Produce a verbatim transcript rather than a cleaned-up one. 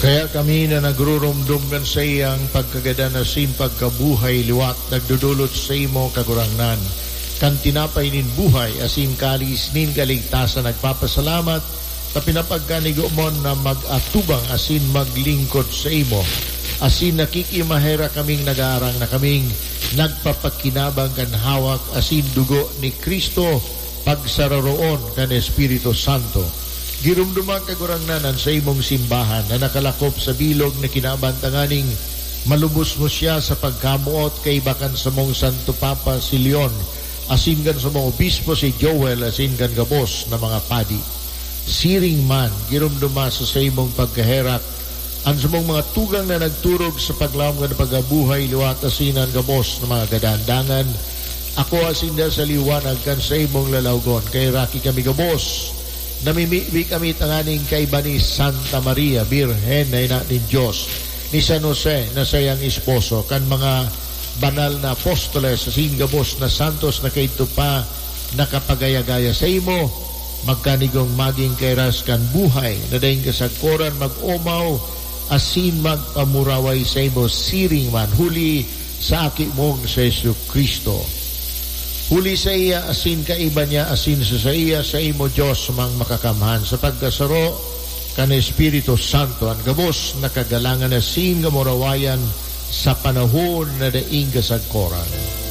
Kaya kami na nagruromdom kan saiyang pagkagadan asin pagkabuhay liwat, nagdodolot saimo, Kagurangnan, kan tinapay nin buhay asin kalis nin kaligtasan, nagpapasalamat ta pinapagkanigo mo na mag-atubang asin maglingkod saimo. Asin nakikimaherak kaming nagaarang na kaming nagpapakinabang kan hawak asin dugo ni Cristo, pagsararoon kan Espiritu Santo. Giromdoma, Kagurangnan, an saimong simbahan na nakalakop sa bilog na kinaban tanganing malubos mo siya sa pagkamoot kaiba kan samong Santo Papa si Leon, asin kan samong obispo si Joel, asin kan gabos na mga padi. Siring man, giromdoma sa saimong pagkaherak an samong mga tugang na nagturog sa paglaom kan pagkabuhay liwat asin an gabos na mga gadan. Dangan, akoa sinda sa liwanag kan saimong lalawgon. Kaheraki kami gabos, namimibi kami tanganing kaiba ni Santa Maria Birhen na ina nin Dios, ni San Jose na saiyang esposo, kan mga banal na apostoles, asin gabos na santos na kaidto pa nakapagaya-gaya saimo, magkanigong magin kairas kan buhay na daing kasagkoran, mag-omaw asin magpamuraway saimo siring man, huli sa Aki mong si Jesu-Cristo. Huli saiya asin kaiba niya asin sa saiya, saimo, Dios mang makakamhan, sa pagkasaro kan Espiritu Santo, an gabos na kagalangan asin kamurawayan sa panahon na daing kasagkoran.